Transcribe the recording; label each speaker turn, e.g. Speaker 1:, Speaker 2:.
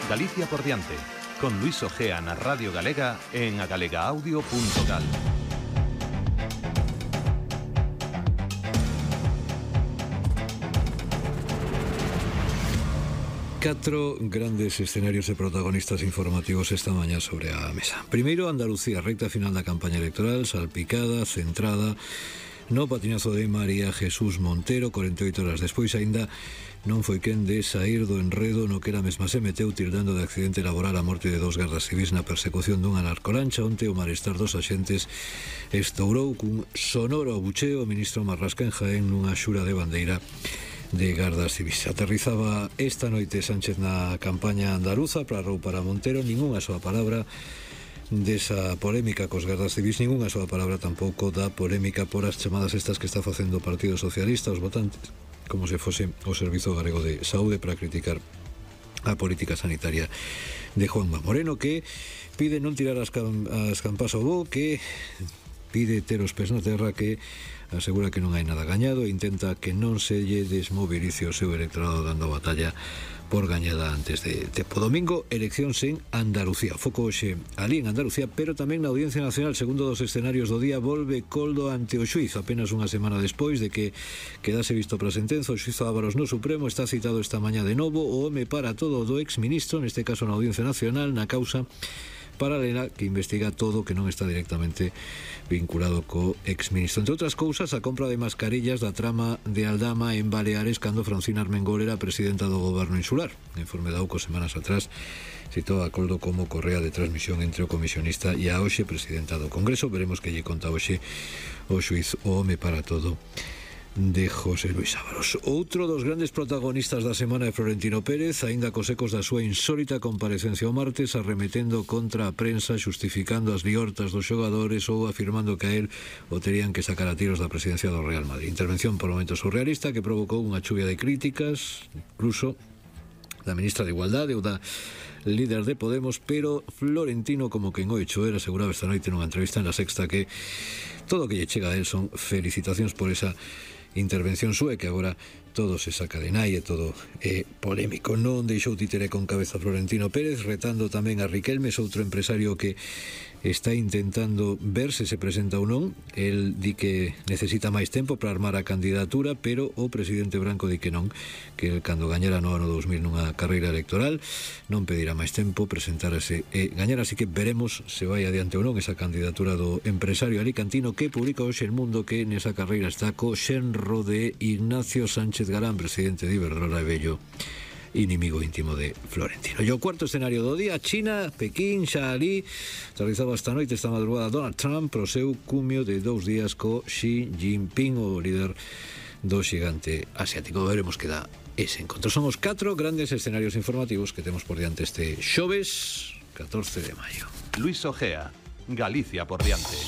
Speaker 1: Galicia por diante, con Luis Ojea na Radio Galega en agalegaaudio.gal.
Speaker 2: Catro grandes escenarios e protagonistas informativos esta mañá sobre a mesa. Primeiro, Andalucía, recta final da campaña electoral, salpicada, centrada no patinazo de María Jesús Montero. 48 horas despois aínda non foi quen de saír do enredo no que era mesma se meteu, tildando de accidente laboral a morte de dos gardas civis na persecución dunha narcolancha. Onte o malestar dos axentes estourou cun sonoro abucheo. O ministro Marrasca en Jaén nunha xura de bandeira de gardas civis. Aterrizaba esta noite Sánchez na campaña andaluza para roupar a Montero. Ningunha soa palabra desa polémica cos gardas civis, ningunha soa palabra tampouco da polémica por as chamadas estas que está facendo o Partido Socialista aos votantes, como se fose o Servizo Galego de Saúde, para criticar a política sanitaria de Juanma Moreno, que pide non tirar as campas ao bo, que pide ter os pés na terra, que asegura que non hai nada gañado e intenta que non se lle desmovilice o seu electorado dando batalla por gañada antes de tempo. Domingo, eleccións en Andalucía. Foco hoxe ali en Andalucía, pero tamén na Audiencia Nacional. Segundo dos escenarios do día, volve Coldo ante o xuiz. Apenas unha semana despois de que quedase visto para a sentenza, o xuiz Ávaros no Supremo está citado esta mañá de novo o home para todo do exministro, neste caso na Audiencia Nacional, na causa paralela que investiga todo que non está directamente vinculado co exministro. Entre outras cousas, a compra de mascarillas da trama de Aldama en Baleares cando Francina Armengol era presidenta do goberno insular. O informe da UCO semanas atrás citou a Coldo como correa de transmisión entre o comisionista e a hoxe presidenta do Congreso. Veremos que lle conta hoxe o xuiz o home para todo de José Luis Ávaros. Outro dos grandes protagonistas da semana é Florentino Pérez, aínda cos ecos da súa insólita comparecencia o martes, arremetendo contra a prensa, xustificando as liortas dos xogadores ou afirmando que a él o terían que sacar a tiros da presidencia do Real Madrid. Intervención por momentos surrealista que provocou unha chuvia de críticas, incluso da ministra de Igualdade ou da líder de Podemos, pero Florentino, como quen o hecho era, aseguraba esta noite nunha entrevista en La Sexta que todo o que lle chega a él son felicitacións por esa intervención súa, que agora todo se saca de nai e todo é polémico. Non deixou títere con cabeza Florentino Pérez, retando tamén a Riquelme, outro empresario que está intentando ver se se presenta ou non. El di que necesita máis tempo para armar a candidatura, pero o presidente Branco di que non, que el, cando gañara no ano 2000 nunha carreira electoral, non pedirá máis tempo, presentarase e gañar, así que veremos se vai adiante ou non esa candidatura do empresario alicantino, que publica hoxe El Mundo que nesa carreira está co xenro de Ignacio Sánchez Galán, presidente de Iberdrola e vello inimigo íntimo de Florentino. E o cuarto escenario do día, China, Pekín, xa ali realizaba esta noite, esta madrugada, Donald Trump pro seu cumio de 2 días co Xi Jinping, o líder do xigante asiático. Veremos que dá ese encontro. Son os 4 grandes escenarios informativos que temos por diante este xoves 14 de maio.
Speaker 1: Luis Ojea, Galicia por diante.